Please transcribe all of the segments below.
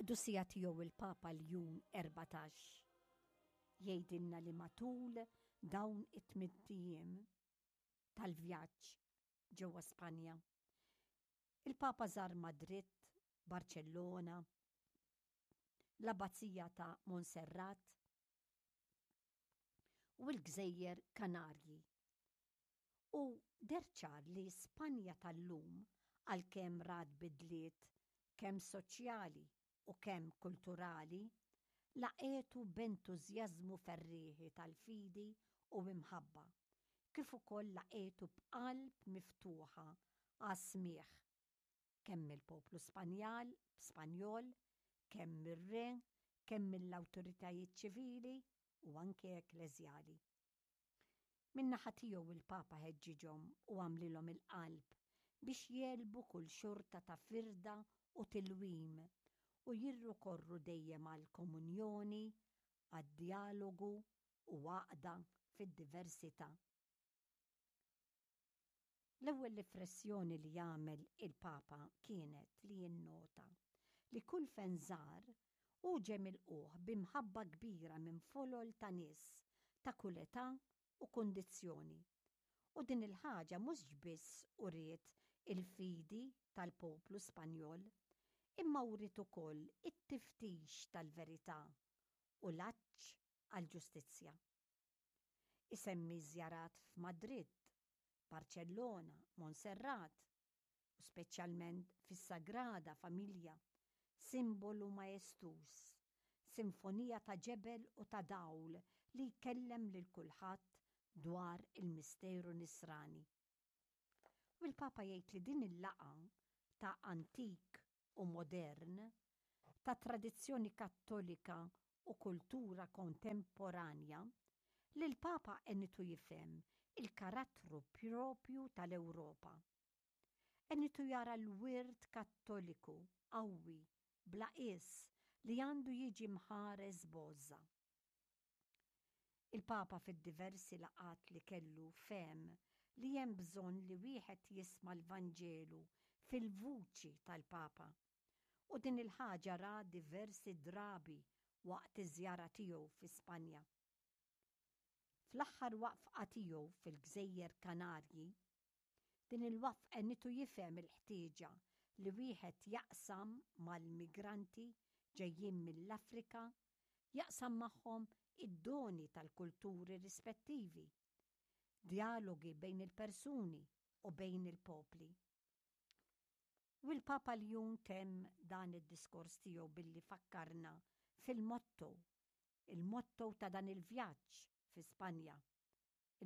Il-Qdusija Tiegħu il-Papa Ljun 14 jgħidilna li matul dawn it-tmint ijiem tal-vjaġġ ġewwa Spanja, il-Papa żar Madrid, Barċellona, l-Abbazija ta' Monserrat u l-Gżejjer Kanarji. U deher ċar li Spanja tal-lum, għalkemm rat bidliet kemm soċjali u kemm kulturali, laqgħetu b'entużjażmu ferrieħi tal-fidi u imħabba, kif ukoll laqgħetu b'qalb miftuħa għas-smigħ kemm mill-poplu Spanjal, Spanjol, kemm mir-re, kemm mill-awtoritajiet ċivili u anke ekkleżjali. Min-naħa tiegħu il-Papa ħeġġiġhom u għamlilhom il-qalb biex jegħlbu kull xorta ta' firda u tilwim u jirrikorru dejjem għall-komunjoni, għad-djalogu u għaqda fid-diversità. L-ewwel riflessjoni li għamel il-Papa kienet li jinnota li kull fejn żar, hu ġie milqugħ bi mħabba kbira minn folol ta' nies ta' kull età u kundizzjoni. U din il-ħaġa mhux biss uriet il-fidi tal-poplu Spanjol, imma wriet ukoll it-tiftix tal-verità u l-għatx għall-ġustizzja. Isemmi żjarat f'Madrid, Barċellona, Monserrat, u speċjalment fis-Sagrada Familja, simbolu maestuż, sinfonija ta' ġebel u ta' dawl li jkellem lil kulħadd dwar il-misteru Nisrani. U l-Papa jgħid li din il-laqgħa ta' antik u modern, ta' tradizzjoni Kattolika u kultura kontemporanja, lill-Papa għenitu jifhem il-karattru propju tal-Ewropa. Għenitu jara l-wirt Kattoliku qawwi bla qies li għandu jiġi mħares b'għożża. Il-Papa fid-diversi laqgħat li kellu fehem li hemm bżonn li wieħed jisma' l-Vanġelu fil-vuċi tal-Papa. U din il-ħaġa ra diversi drabi waqt iż-żjara tiegħu fi Spanja. Fl-aħħar waqfqa tiegħu fil-Gżejjer Kanarji, din il-waqf għenitu jifhem il-ħtieġa li wieħed jaqsam mal-migranti ġejjin mill-Afrika, jaqsam magħhom id-doni tal-kulturi rispettivi, djalogi bejn il-persuni u bejn il-popli. U l-Papa Ljun temm dan id-diskors tiegħu billi fakkarna fil-motto, il-motto ta' dan il-vjaġġ fi Spanja,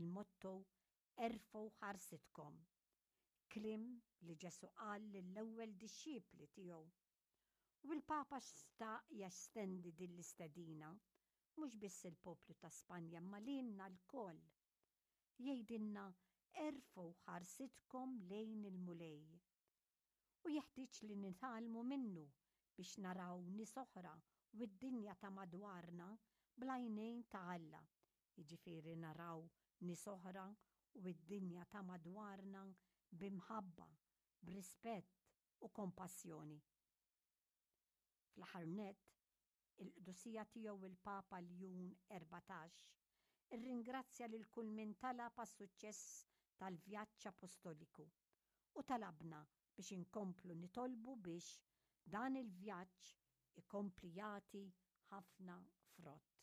il-motto Erfgħu ħarsitkom. Kliem li Ġesù qal lill-ewwel dixxipli tiegħu. U l-Papa xtaq jestendi din l-istedina mhux biss il-poplu ta' Spanja imma lilna lkoll. Jgħidilna erfgħu ħarsitkom lejn il-Mulej. U jeħtieġ li nitgħallmu minnu biex naraw nies oħra u d-dinja ta' madwarna bl-għajnejn ta' Alla, jiġifieri naraw nies oħra u d-dinja ta' madwarna bi mħabba, b'rispett u kompassjoni. Fl-aħħar nett, il-Qdusija Tiegħu il-Papa Ljun 14 irringrazzja lil kull min talab għas-suċċess tal-vjaġġ apostoliku u talabna biex inkomplu nitolbu biex dan il-vjaġġ ikompli jagħti ħafna frott.